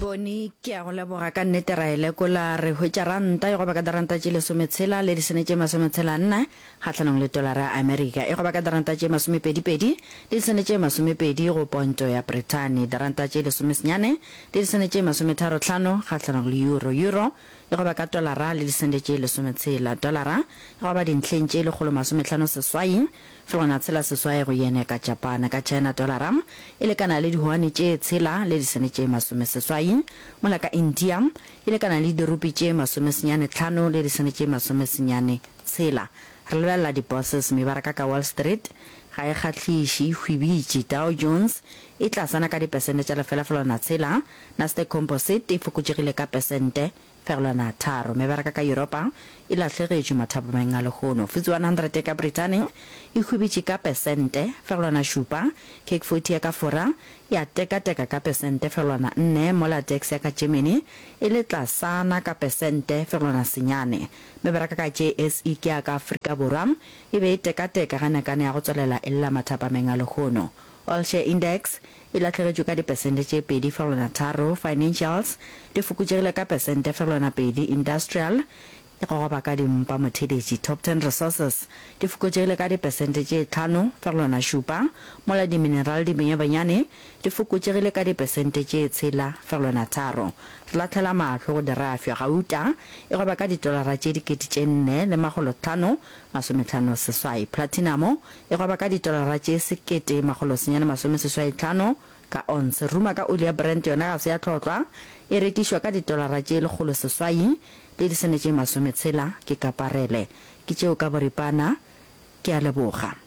Boni, Ke a go leboga ka nnete ra e lekola re hwetša ranta e goba ka diranta tše lesometshela le disene tše masometshela nne kgahlanong le tolara ya Amerika e goba ka diranta tše masomepedipedi le disene tše masomepedi go ponto ya Brithani diranta tše lesomesenyane le disene tše masometharo hlano kgahlanong le euro euro e goba ka tolara le disente tše lesometshela tolara e goba dintlheng tše lekgolo masomehlano seswai Fegelwana tshela seswai go yen ya ka Japane. Ka China tolara e lekana le dihuane tše tshela le disene tše masomeseswai, mola ka India e lekana le dirupi tše masomesenyane tlhano le disene tše masomesenyane tshela. Re lebelela di-bourses, mebaraka ka Wall Street ga e kgahliše, e hwibitše. Dow Jones e tlasana ka dipesente tša lefela fegelwana tshela, Nasdaq Composite e fokotšegile ka pesente Fegelwana tharo. Mebaraka ka Yuropa e lahlegetšwe mathapameng a lehono. FTSE 100 ya ka Brithani e hwibitše ka pesente fegelwana šupa, CAC 40 ya ka Fora ya tekateka ka pesente fegelwana nne, mola DAX ya ka Germany e le tlasana ka pesente fegelwana senyane. Mebaraka ka JSE ke ya ka Afrika Borwa e be e tekateka ge nakane ya go tswelela e lla mathapameng a lehono. All Share Index e lahlegetšwe ka dipesente tše 2,3, Financials di fokotšegile ka pesente fegelwana pedi, Industrial e gogoba ka dimpa motheeletši, Top Ten Resources di fokotšegile ka dipesente tše 5,7, mola dimineral di benyabanyane di fokotšegile ka dipesente tše 6,3. Re lahlela mahlo go dirafša, gauta e goba ka ditolara tše 4558, platinamo E gwaba ka ditolara tše 1985 ka onse. Ruma ka oli ya Brent yona ga se ya hlotlwa, e rekišwa ka ditolara tše 108 le disene tše 60 ke ka parele. Ke tšeo ka boripana. Ke a leboga.